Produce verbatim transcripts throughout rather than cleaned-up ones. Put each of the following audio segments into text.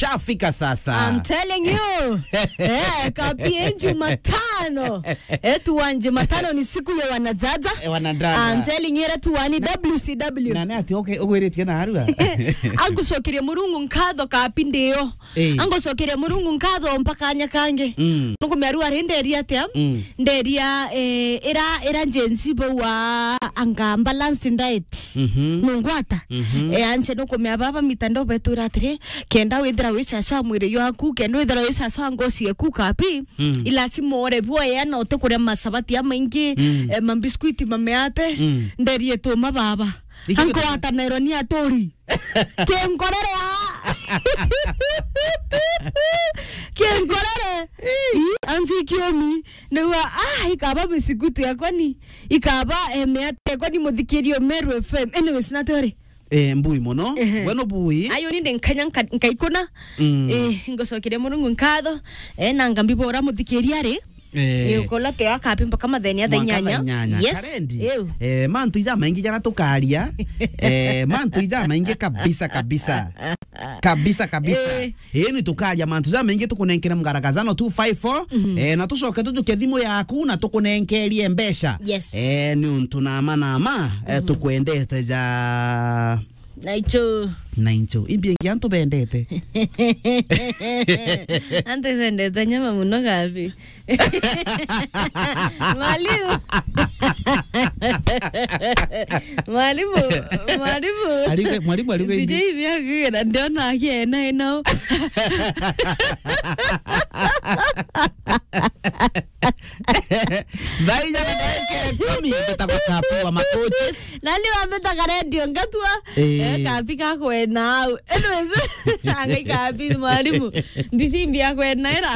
Shafika sasa. I'm telling you. Eh, kapi Jumatano. Eh, tuwanje matano ni siku ya wanajaja. Eh, wanadada. I'm telling you, ira tuwani W C W. Na ni ati, okay, ugwiritie na arua. Angucokeria Murungu nkatho kapi ndio. Eh. Angucokeria Murungu nkatho mpaka anya kangi. Mm. Nukumia arua ri nderia atia? Mm. Nderia, eh, ira, ira Gen Z bau wa anga balanced diet. Mhm. Nungwata. Mhm. Eh, anse nukumia baba mitandao betwira atiri, kenda withira wi sasa wa mwiri jwaku, kenda withira wi sasa wa ngoci yeku kapi, mm, ilasimu ore buoya na utikuria masabati amaingi, mm, eh, mambiskwiti mameate, mm, nderie tuma baba. Iki ankwata naironi aturi. Kinkorere a. Kinkorere. Ii, anzi kiumi. Nigua, ah, ikaba misigutu yakwa ni. Ikaba, eh, miate yakwa ni muthikirio Meru F M. Anyways, natwere. Eh, mbui mono. Ehe. We no bui. Ayo ni ndi nkanya nka-, nkaikuna. Mm. Eh, ngocokeria Murungu nkatho. Eh, na ngambibora muthikiria ri. Eh. Ni ukola twe akapi mpaka mathenya thaa inyanya. Mwanka thaa inyanya. Yes. Karendi. Ew. Eh, mantu ija maingi jara tukaria. Eh, mantu ija maingi kabisa, kabisa. Kabisa, kabisa. Eh. Eh, ni tukaria mantu ja maingi tukunenkere mgaragazano two five four. Mhm. Eh, na tucoke tujuke thimu yaku na tukunenkerie mbeca. Yes. Eh, ni untu nama nama, eh, mhm, tukwendete ja. Na icho. Na icho. Imbi ingi antu bendete. Antu bendete nyama muno gabi. Mwalimu. Mwalimu, mwalimu. Arige-, mwalimu arige indi. Sijui vya kugira, ndiona akiena ino. Thaa inya na ndagika ikumi, mbitagwa Kapi wa Macoaches. Nani wambitaga redio ngatua? Eh. Eh, Kapi gakwena au. Anyways, angai Kapi mwalimu. Ndicimbi akwena ira.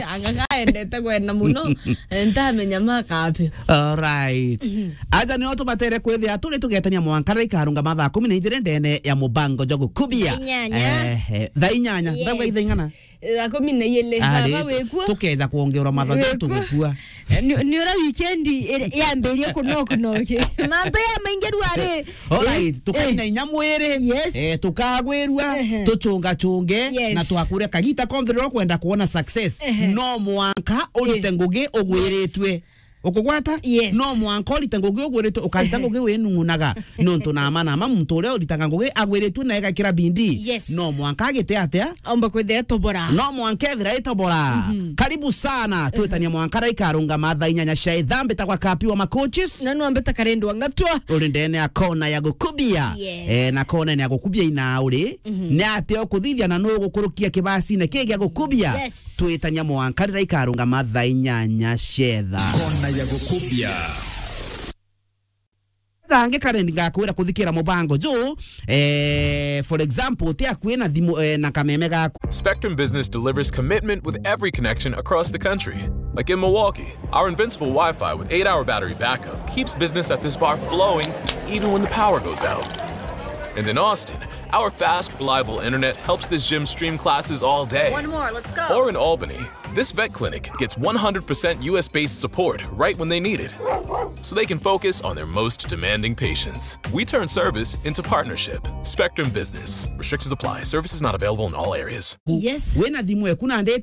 Anga kaendete kwena muno. Eh, ntamenya ma Kapi. All right. Mhm. Aja nio tubatere kwithia turi tugetania mwanka riria ikarungama thaa kumi na ijiri ndene ya mubango jwa gukubia. Thaa inyanya. Eh, eh, thaa inyanya. Yes. Ndauga ithaa ing'ana? Thaa kumi na ijiri. Ah, baba ri, wikuo? Tukeza kwongerwa mathaa. Wikuo? Tugukua. Eh, ni, ni ura weekend iri-, yambirie kunokunoki. Mantu ya maingi rua ri. All right, eh, tukaina inya mwiri. Yes. Eh, tukagwirua, ehe, tuchungachunge, yes, na twakure kagita konthe riria ukwenda kuona success. Ehe. No mwanka urite, yes, ngugi ugwiritue. Ukugwata? Yes. No mwanka urite ngugi ugwiritue, ukarita ngugi winung'unaga. Nontu nama nama muntu uria uritaga ngugi agwiritue na egakira bidii. Yes. No mwanka agite atia? Aumba kwithira etobora. No mwanka ethira etobora. Mhm. Karibu sana. Twitania mwanka riria ikarungama thaa inyanya cia ithaa. Mbitagwa Kapi wa Macoaches. Na nwambita Karendwa Ngatwa. Uri ndene ya kona ya gukubia. Yes. Eh, na kona ya gukubia ina uri. Mhm. Ni atia ukuthithia na nu ugukurukia kibasine ki gia gukubia? Yes. Twitania mwanka riria ikarungama thaa inyanya cia ithaa. Kona ya gukubia. Thangi Karendi ngakwira kuthikira mubango ju, eh, for example, ti akui na thimu, eh, na kameme gaku. Spectrum Business delivers commitment with every connection across the country. Like in Milwaukee, our invincible Wi-Fi with eight-hour battery backup keeps business at this bar flowing even when the power goes out. And in Austin, our fast, reliable internet helps this gym stream classes all day. One more, let's go. Or in Albany, this vet clinic gets one hundred percent U S-based support right when they need it, so they can focus on their most demanding patients. We turn service into partnership. Spectrum Business. Restrictions apply. Services not available in all areas. Yes. Wina thimu eku na ndeta